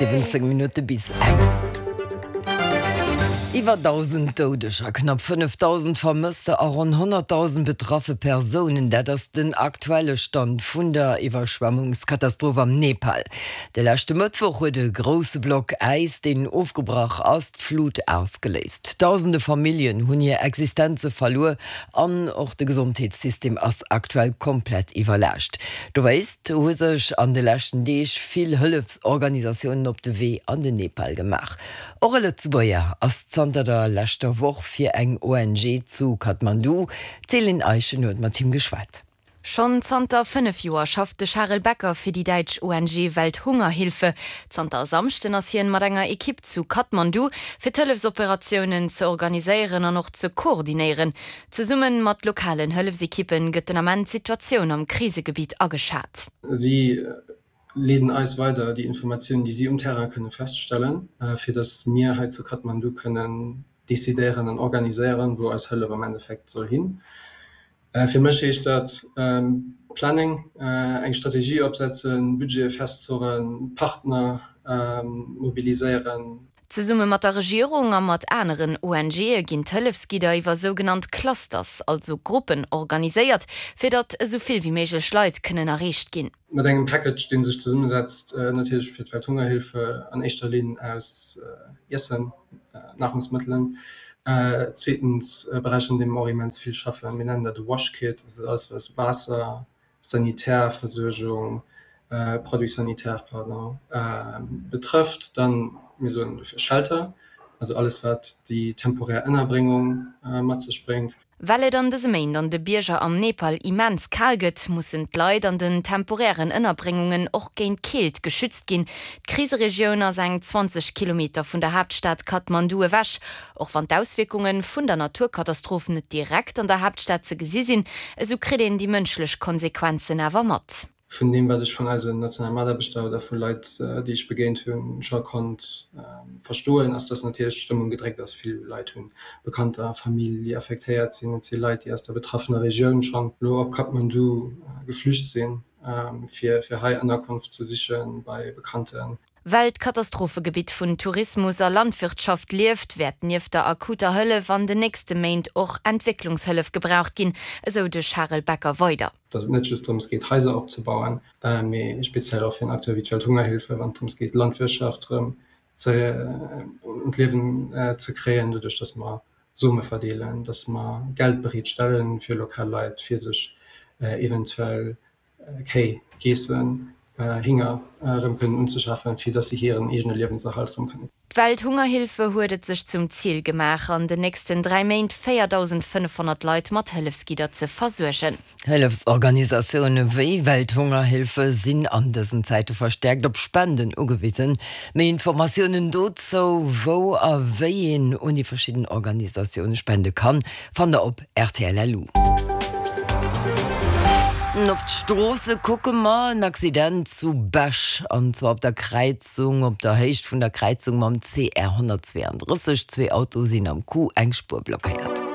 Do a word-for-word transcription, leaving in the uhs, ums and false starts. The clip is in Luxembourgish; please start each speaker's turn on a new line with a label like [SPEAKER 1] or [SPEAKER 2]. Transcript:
[SPEAKER 1] Siwwenzéng Minutte bis eng. Iwwer dausend Doudeger, knapp fënnefdausend Vermësster a ronn honnertdausend betraffe Persounen, dat ass den aktuelle Stand vun der Iwwerschwemmungskatastroph am Nepal. De leschte Mëttwoch huet e grousse Block Äis, deen ofgebrach ass, d'Flut ausgeléist. Dausende Familljen hunn hir Existenze verluer an och de Gesondheetssystem ass aktuell komplett iwwerlaascht. Dowéinst hu sech an de leschten Deeg vill Hëllefsorganisatiounen op de Wee an den Nepal gemaach. Och e Lëtzebuerger ass zanter der leschter Woch fir eng O N G zu Kathmandu. D'Céline Eischen huet mat him geschwat.
[SPEAKER 2] Schonn zanter fënnef Joer schafft de Charel Becker fir déi däitsch O N G Welthungerhilfe. Zanter e Samschden ass hien mat enger Ekipp zu Kathmandu, fir d'Hëllefsoperatiounen ze organiséieren an och ze koordinéieren. Zesumme mat lokalen Hëllefsekippen gëtt den Ament d'Situatioun am Krisegebitt ageschat.
[SPEAKER 3] Si leeden eis weider déi Informatiounen, déi si um Terrain kënne feststellen, fir datt mir hei zu Kathmandu kënnen decidéieren an organiséieren, wou eis Hëllef am Endeffekt soll hin. Fir mech heescht dat Planning, eng Strategie opsetzen, Budgete festzurren, Partner mobiliséieren.
[SPEAKER 2] Zesumme mat der Regierung a mat aneren O N G'e ginn d'Hëllefsgidder iwwer sougenannt Clusters, also Gruppen, organiséiert, fir datt esou vill wéi méiglech Leit kënnen erreecht ginn.
[SPEAKER 3] Mat engem Package, dee sech zesummesetzt natierlech fir d'Welthungerhilfe an éischter Linn aus Iessen, Nahrungsmëttelen. Zweetens e Beräich, an deem mer och immens vill schaffen, mir nennen dat e Wash Kit, dat ass alles wat Waasser, Sanitärversuergung, Produits sanitaires, pardon, betrëfft. Dann, mir soen dofir Shelter, also alles wat déi temporär Ënnerbréngung mat sech bréngt.
[SPEAKER 2] Well et an dëse Méint an de Bierger am Nepal immens kal gëtt, mussen d'Leit an den temporären Ënnerbréngungen och géint d'Keelt geschützt ginn. D'Kriseregioun ass eng zwanzeg Kilometer vun der Haaptstad Kathmandu ewech. Och wann d'Auswierkunge vun der Naturkatastroph net direkt an der Haaptstad ze gesi sinn, esou kritt een déi mënschlech Konsequenzen awer mat.
[SPEAKER 3] Vun deem, wat ech vun eisen nationale Mataarbechter oder vu Leit, déi ech begéint hunn, scho konnt verstoen, ass, dass natierlech d'Stëmmung gedréckt ass. Vill Leit hu Bekannter a Famill, déi affektéiert sinn. Et si Leit, déi aus der betraffener Regioun schonn elo op Kathmandu geflücht sinn, fir fir hei Ënnerkonft ze siche bei Bekannten.
[SPEAKER 2] Well d'Katastrophegebitt vun Tourismus a Landwirtschaft lieft, wäert nieft der akuter Hëllef an den nächste Méint och Entwécklungshëllef gebraucht ginn, esou de Charel Becker weider.
[SPEAKER 3] Dass et net just drëms geet, Haiser opzebauen, mee speziell och fir en Acteur wéi d'Welthungerhilfe, wann et drëms geet, d'Landwirtschaft erëm ze un d'Liewen ze kréien, doduerch dass mer Some verdeelen, dass mer Geld bereetstelle fir lokal Leit, fir sech eventuell Kéi, Geessen, Hinger erëm kënnen unzeschafen, fir dass si hiren eegene Liewenserhalt erëm kënnen.
[SPEAKER 2] D'Welthungerhilfe huet et sech zum Zil gemaach, an den nächsten dräi Méint véierdausendfënnefhonnert Leit mat Hëllefsgidder ze versuergen.
[SPEAKER 1] Hëllefsorganisatioune wéi Welthungerhilfe sinn an dësen Zäite verstäerkt op Spenden ugewisen. Méi Informatiounen dozou, wou a wéi een un déi verschidden Organisatioune spende kann, fannt der op rtl. Lu. Op d'Stroosse kucke mer, En Accident zu Bech, an zwar op der Kräizung, op der Héicht vun der Kräizung mam C R honnertzweeanddrësseg. Zwee Autoe sinn am Coup, eng Spuer blockéiert.